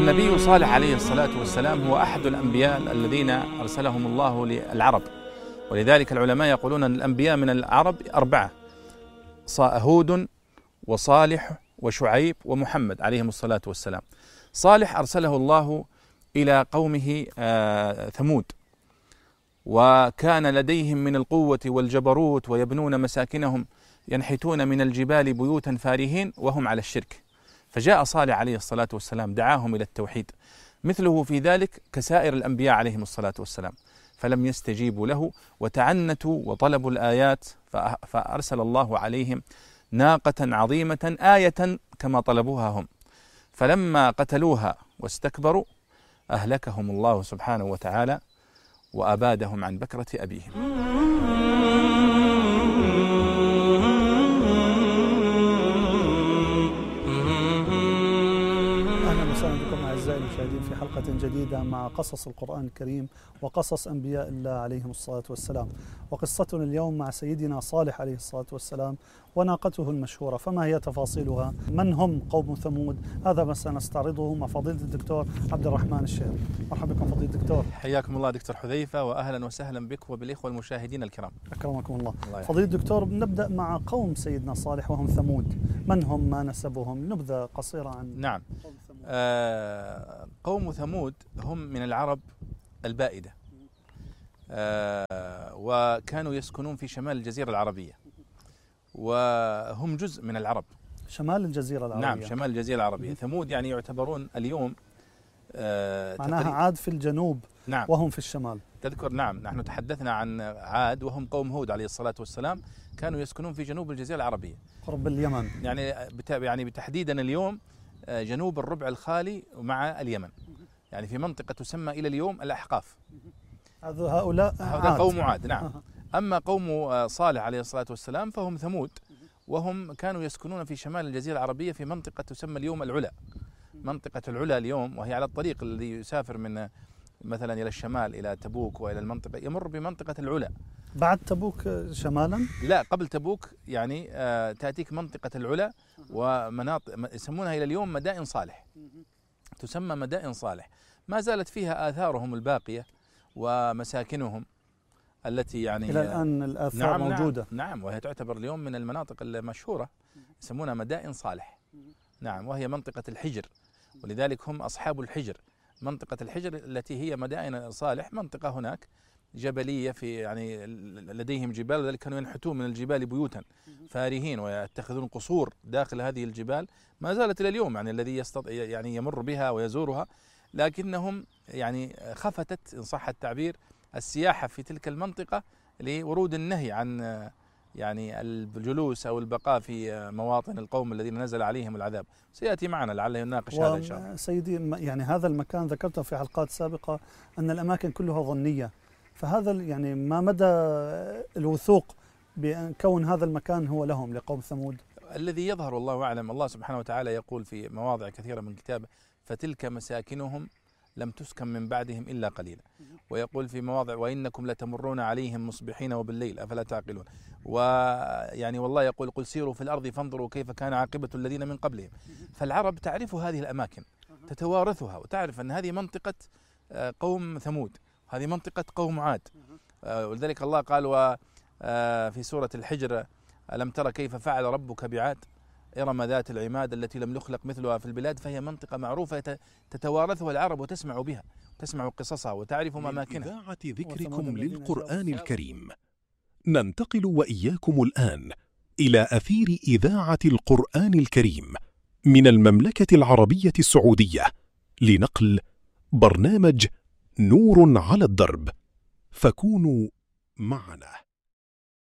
النبي صالح عليه الصلاة والسلام هو أحد الأنبياء الذين أرسلهم الله للعرب، ولذلك العلماء يقولون أن الأنبياء من العرب 4: هود وصالح وشعيب ومحمد عليهم الصلاة والسلام. صالح أرسله الله إلى قومه ثمود، وكان لديهم من القوة والجبروت ويبنون مساكنهم ينحتون من الجبال بيوتا فارهين وهم على الشرك، فجاء صالح عليه الصلاة والسلام دعاهم إلى التوحيد مثله في ذلك كسائر الأنبياء عليهم الصلاة والسلام، فلم يستجيبوا له وتعنتوا وطلبوا الآيات، فأرسل الله عليهم ناقة عظيمة آية كما طلبوها هم، فلما قتلوها واستكبروا أهلكهم الله سبحانه وتعالى وأبادهم عن بكرة أبيهم. أهلا وسهلا بكم أعزائي المشاهدين في حلقة جديدة مع قصص القرآن الكريم وقصص أنبياء الله عليهم الصلاة والسلام. وقصتنا اليوم مع سيدنا صالح عليه الصلاة والسلام وناقته المشهورة، فما هي تفاصيلها؟ من هم قوم ثمود؟ هذا ما سنستعرضه مع فضيلة الدكتور عبد الرحمن الشيخ. مرحبا بكم فضيلة الدكتور. حياكم الله دكتور حذيفة، وأهلا وسهلا بك وبالإخوة المشاهدين الكرام. أكرمكم الله. فضيلة الدكتور، نبدأ مع قوم سيدنا صالح وهم ثمود. من هم؟ ما نسبهم؟ نبذة قصيرة عن نعم. قوم ثمود. قوم ثمود هم من العرب البائدة، وكانوا يسكنون في شمال الجزيرة العربية، وهم جزء من العرب. شمال الجزيرة العربية. نعم، شمال الجزيرة العربية. ثمود يعني يعتبرون اليوم معناها عاد في الجنوب. نعم. وهم في الشمال. تذكر، نعم، نحن تحدثنا عن عاد وهم قوم هود عليه الصلاة والسلام، كانوا يسكنون في جنوب الجزيرة العربية قرب اليمن. يعني بتحديدا اليوم جنوب الربع الخالي مع اليمن، يعني في منطقة تسمى إلى اليوم الأحقاف. هؤلاء قوم عاد. نعم. أما قوم صالح عليه الصلاة والسلام فهم ثمود، وهم كانوا يسكنون في شمال الجزيرة العربية في منطقة تسمى اليوم العلا. منطقة العلا اليوم، وهي على الطريق الذي يسافر من مثلا إلى الشمال إلى تبوك وإلى المنطقة، يمر بمنطقة العلا. بعد تبوك شمالا؟ لا، قبل تبوك، يعني تأتيك منطقة العلا ومناطق يسمونها إلى اليوم مدائن صالح، تسمى مدائن صالح. ما زالت فيها آثارهم الباقية ومساكنهم التي يعني إلى الآن الآثار موجودة. نعم، وهي تعتبر اليوم من المناطق المشهورة، يسمونها مدائن صالح. نعم، وهي منطقة الحجر، ولذلك هم أصحاب الحجر. منطقة الحجر التي هي مدائن صالح منطقة هناك جبلية، في يعني لديهم جبال، ولذلك كانوا ينحتون من الجبال بيوتا فارهين ويتخذون قصور داخل هذه الجبال. ما زالت إلى اليوم، يعني الذي يعني يمر بها ويزورها، لكنهم يعني خفتت إن صح التعبير السياحة في تلك المنطقة لورود النهي عن يعني الجلوس أو البقاء في مواطن القوم الذين نزل عليهم العذاب. سيأتي معنا لعله يناقش هذا إن شاء الله. سيدي، يعني هذا المكان ذكرته في حلقات سابقة أن الأماكن كلها ظنية، فهذا يعني ما مدى الوثوق بأن كون هذا المكان هو لهم لقوم ثمود؟ الذي يظهر والله أعلم، الله سبحانه وتعالى يقول في مواضع كثيرة من كتابه: فتلك مساكنهم لم تسكن من بعدهم إلا قليلا. ويقول في مواضع: وإنكم لتمرون عليهم مصبحين وبالليل أفلا تعقلون. ويعني والله يقول: قل سيروا في الأرض فانظروا كيف كان عاقبة الذين من قبلهم. فالعرب تعرف هذه الأماكن، تتوارثها، وتعرف أن هذه منطقة قوم ثمود، هذه منطقة قوم عاد. ولذلك الله قال في سورة الحجر: ألم تر كيف فعل ربك بعاد إرم ذات العماد التي لم يخلق مثلها في البلاد. فهي منطقة معروفة تتوارثها العرب وتسمع بها، تسمع قصصها وتعرف أماكنها. إذاعة ذكركم للقرآن الكريم، ننتقل وإياكم الآن إلى أثير إذاعة القرآن الكريم من المملكة العربية السعودية لنقل برنامج نور على الدرب، فكونوا معنا.